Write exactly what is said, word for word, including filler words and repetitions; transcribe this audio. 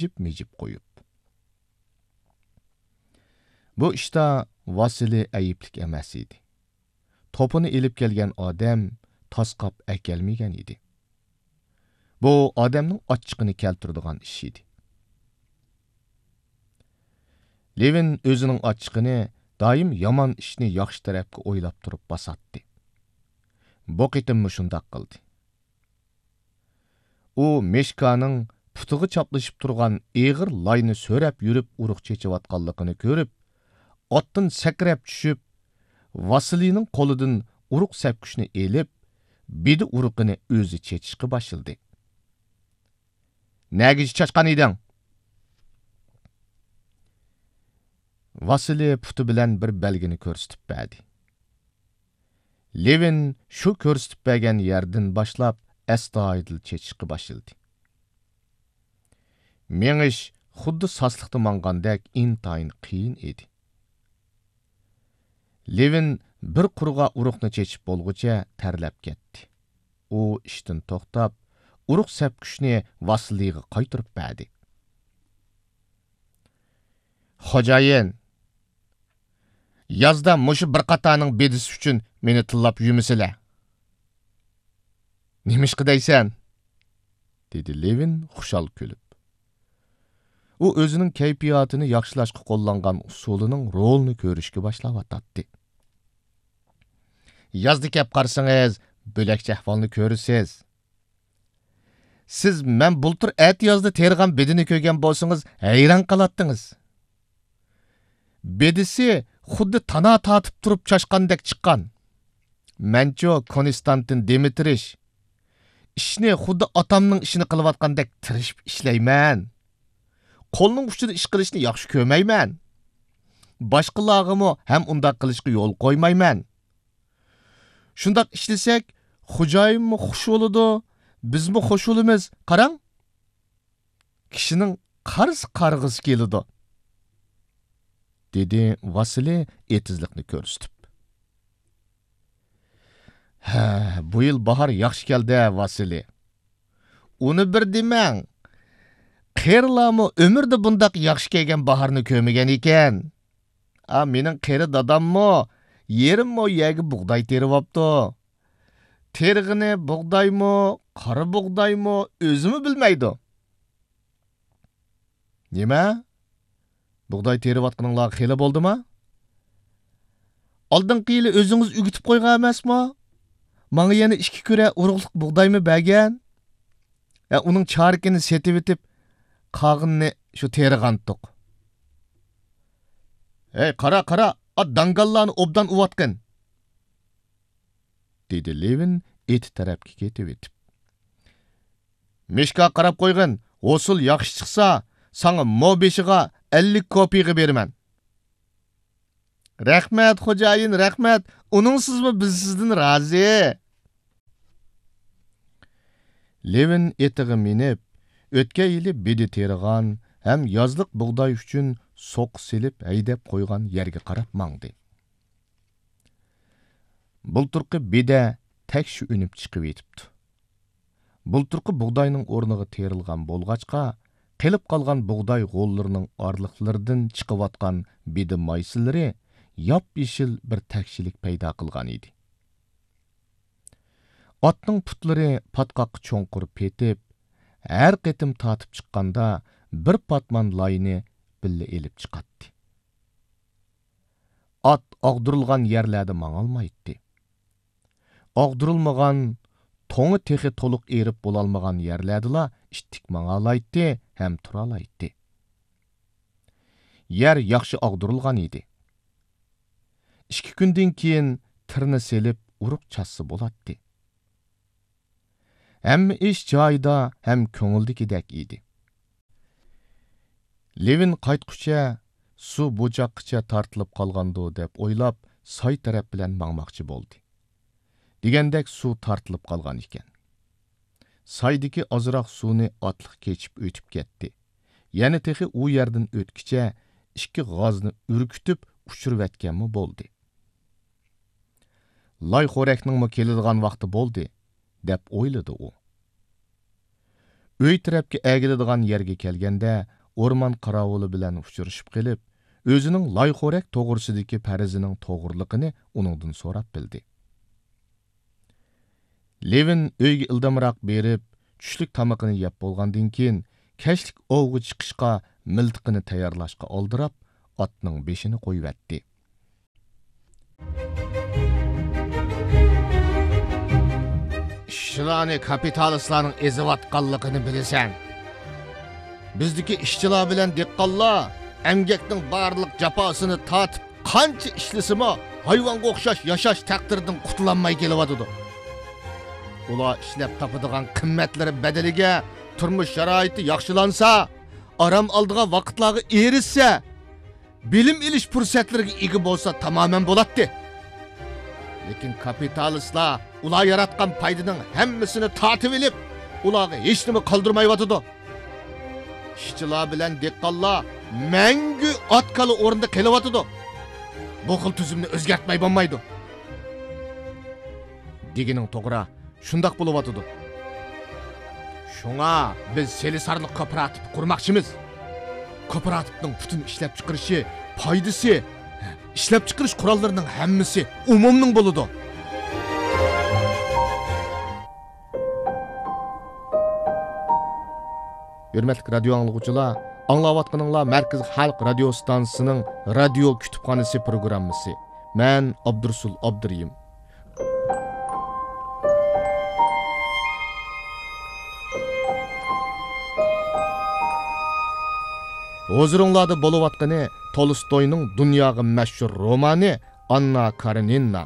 مىجىپ-مىجىپ قويۇپ. بۇ ئىشتا ۋاسىلى ئەيىبلىك ئەمەس ئىدى. توپىنى ئېلىپ كەلگەن ئادەم تاسقاپ ئەكەلمىگەن ئىدى. بۇ ئادەمنىڭ ئاچچىقىنى كەلتۈرىدىغان ئىش ئىدى. لېۋىن ئۆزىنىڭ ئاچچىقىنى دائىم يامان ئىشنى ياخشى تەرەپكە ئويلاپ تۇرۇپ باساتتى. بۇ قېتىممۇ شۇنداق قىلدى. ئۇ مىشكانىڭ پۇتىغا چاپلىشىپ تۇرغان ئېغىر لاينى سۆرەپ يۈرۈپ ئۇرۇق چېچىۋاتقانلىقىنى كۆرۈپ، ئاتتىن سەكرەپ چۈشۈپ، ۋاسىلىنىڭ قولىدىن ئۇرۇق سەپكۈچنى ئېلىپ، بېدە ئۇرۇقىنى ئۆزى چېچىشقا باشلىدى. نەگىچە چاچقان ئىدىڭ؟ ۋاسىلى پۇتى بىلەن بىر بەلگىنى كۆرسىتىپ بەردى. لېۋىن شۇ كۆرسىتىپ بەرگەن يەردىن باشلاپ ئەستايىدىل چېچىشقا باشلىدى. مېڭىش خۇددى ساسلىقتا ماڭغاندەك ئىنتايىن قىيىن ئىدى. لېۋىن بىر قۇرغا ئۇرۇقنى چېچىپ بولغۇچە تەرلەپ كەتتى. ئۇ ئىشتىن توختاپ، ئۇرۇق سەپكۈچنى ۋاسىلىيغا قايتۇرۇپ بەردى. خوجايىن، يازدا مۇشۇ بىر قاتارنىڭ بېدىسى ئۈچۈن مېنى تىللاپ يۈرمىسىلە. نېمىشقا دەيسەن؟ دېدى لېۋىن خۇشال كۈلۈپ. ئۇ ئۆزىنىڭ كەيپىياتىنى ياخشىلاشقا قوللانغان ئۇسۇلىنىڭ رولىنى كۆرۈشكە باشلاۋاتاتتى. يازدا كەپ قارىسىڭىز، بۆلەكچە ئەھۋالنى كۆرىسىز. سىز مەن بۇلتۇر ئەتىيازدا تېرىغان بېدىنى كۆرگەن بولسىڭىز، ھەيران قالاتتىڭىز. بېدىسى خۇددى تانا تارتىپ تۇرۇپ چاچقاندەك چىققان. مەنچۇ كونستانتىن دىمىترىچ، ئىشنى خۇددى ئاتامنىڭ ئىشىنى قىلىۋاتقاندەك تىرىشىپ ئىشلەيمەن. قولنىڭ ئۇچىدا ئىش قىلىشنى ياخشى كۆرمەيمەن. باشقىلارغىمۇ ھەم ئۇنداق قىلىشقا يول قويمايمەن. شۇنداق ئىشلىسەك، خوجايىنمۇ خۇش بولىدۇ، بىزمۇ خۇش بولىمىز. قاراڭ، كىشىنىڭ قارىسا قارىغۇسى كېلىدۇ، دېدى ۋاسىلى ئېتىزلىقنى كۆرسىتىپ. ھە، بۇ يىل باھار ياخشى كەلدى، ۋاسىلى. ئۇنى بىر دېمەڭ. قېرىلارمۇ ئۆمرىدە بۇنداق ياخشى كەلگەن باھارنى كۆرمىگەن ئىكەن. ئا، مېنىڭ قېرى داداممۇ يېرىم مو يەرگە بۇغداي تېرىۋاپتۇ. تېرىغىنى بۇغدايمۇ، قارا بۇغدايمۇ، ئۆزىمۇ بىلمەيدۇ. نېمە؟ بۇغداي تېرىۋاتقىنىڭلار خېلى بولدىما؟ ئالدىنقى يىلى ئۆزىڭىز ئۈگۈتۈپ قويغان ئەمەسمۇ؟ ماڭا يەنە ئىككى كۈرە ئۇرۇقلۇق بۇغدايمۇ بەرگەن؟ ھە، ئۇنىڭ چارىكىنى سېتىۋېتىپ، قالغىنىنى شۇ تېرىغانتۇق. ھەي، قارا، قارا، ئات داڭگاللارنى ئوبدان ئۇۋاتقىن! دېدى لېۋىن ئېتى تەرەپكە كېتىۋېتىپ. مىشكا قاراپ قويغىن، ھوسۇل ياخشى چىقسا، ساڭا مو بېشىغا ئەللىك كوپىيغا بېرىمەن. رەھمەت، خوجايىن، رەھمەت، ئۇنىڭسىزمۇ بىز سىزدىن رازى. لېۋىن ئېتىغا مىنىپ، ئۆتكەن يىلى بېدە تېرىغان ھەم يازلىق بۇغداي ئۈچۈن سوقا سېلىپ ھەيدەپ قويغان يەرگە قاراپ ماڭدى. بۇلتۇرقى بېدە تەكشى ئۈنۈپ چىقىۋېتىپتۇ. بۇلتۇرقى بۇغداينىڭ ئورنىغا تېرىلغان بولغاچقا، قېلىپ قالغان بۇغداي غوللىرىنىڭ ئارىلىقلىرىدىن چىقىۋاتقان بېدە مايسىلىرى ياپيېشىل بىر تەكشىلىك پەيدا قىلغان ئىدى. ئاتنىڭ پۇتلىرى پاتقاققا چوڭقۇر پېتىپ، ھەر قېتىم تارتىپ چىققاندا بىر پاتمان لاينى بىللە ئېلىپ چىقاتتى. ئات ئاغدۇرۇلغان يەرلەردە ماڭالمايتتى. ئاغدۇرۇلمىغان، توڭى تېخى تولۇق ئېرىپ بولالمىغان يەرلەردىلا ئىتتىك ماڭالايتتى ھەم تۇرالايتتى. يەر ياخشى ئاغدۇرۇلغان ئىدى. ئىككى كۈندىن كېيىن تىرنا سېلىپ ئۇرۇق چاچسا بولاتتى. ھەممە ئىش جايىدا ھەم كۆڭۈلدىكىدەك ئىدى. لېۋىن قايتقۇچە سۇ بۇ چاققىچە تارتىلىپ قالغاندۇ دەپ ئويلاپ، ساي تەرەپ بىلەن ماڭماقچى بولدى. دېگەندەك سۇ تارتىلىپ قالغان ئىكەن. سايدىكى ئازراق سۇنى ئاتلىق كېچىپ ئۆتۈپ كەتتى. يەنە تېخى ئۇ يەردىن ئۆتكىچە ئىككى غازنى ئۈركۈتۈپ ئۇچۇرۇۋەتكەنمۇ بولدى. لاي خورەكنىڭمۇ كېلىدىغان ۋاقتى بولدى، دەپ ئويلىدى ئۇ. ئۆي تەرەپكە ئەگىلىدىغان يەرگە كەلگەندە، ئورمان قاراۋۇلى بىلەن ئۇچرىشىپ قېلىپ، ئۆزىنىڭ لايخورەك توغرىسىدىكى پەرىزىنىڭ توغرىلىقىنى ئۇنىڭدىن سوراپ بىلدى. لېۋىن ئۆيگە ئىلدامراق بېرىپ، چۈشلۈك تامىقىنى يەپ بولغاندىن كېيىن، كەچلىك ئوۋغا چىقىشقا مىلتىقىنى تەييارلاشقا ئالدىراپ، ئاتنىڭ بېشىنى قويۇۋەتتى. ئىشچىلارنى كاپىتالىستلارنىڭ ئېزىۋاتقانلىقىنى بىلىسەن. بىزدىكى ئىشچىلار بىلەن دېھقانلار ئەمگەكنىڭ بارلىق جاپاسىنى تارتىپ، قانچە ئىشلىسىمۇ، ھايۋانغا ئوخشاش ياشاش تەقدىرىدىن قۇتۇلالماي كېلىۋاتىدۇ. ئۇلار ئىشلەپ تاپىدىغان قىممەتلىرى بەدىلىگە تۇرمۇش شارائىتى ياخشىلانسا، ئارام ئالىدىغان ۋاقىتلارغا ئېرىشسە، بىلىم ئېلىش پۇرسەتلىرىگە ئىگە بولسا تامامەن بولاتتى. لېكىن كاپىتالىستلار ئۇلار ياراتقان پايدىنىڭ ھەممىسىنى تارتىۋېلىپ، ئۇلارغا ھېچنېمە قالدۇرمايۋاتىدۇ. ئىشچىلار بىلەن دېھقانلار مەڭگۈ ئات-كالا ئورنىدا قېلىۋاتىدۇ. بۇ خىل تۈزۈمنى ئۆزگەرتمەي بولمايدۇ. دېگىنىڭ توغرا، شۇنداق بولۇۋاتىدۇ. شۇڭا بىز سېلىسارلىق كوپىراتىپى قۇرماقچىمىز. كوپىراتىپنىڭ پۈتۈن ئىشلەپچىقىرىشى، پايدىسى، ئىشلەپچىقىرىش قوراللىرىنىڭ ھەممىسى ئومۇمنىڭ بولىدۇ. ھۆرمەتلىك رادىيو ئاڭلىغۇچىلار، ئاڭلاۋاتقىنىڭلار مەركىزىي خەلق رادىيو ئىستانسىسىنىڭ رادىيو كۇتۇپخانىسى پروگراممىسى. مەن ئابدۇرۇسۇل ئابدۇرېھىم. ھۇزۇرۇڭلاردا بولۇۋاتقىنى تولستوينىڭ دۇنياغا مەشھۇر رومانى ئاننا كارېنىنا.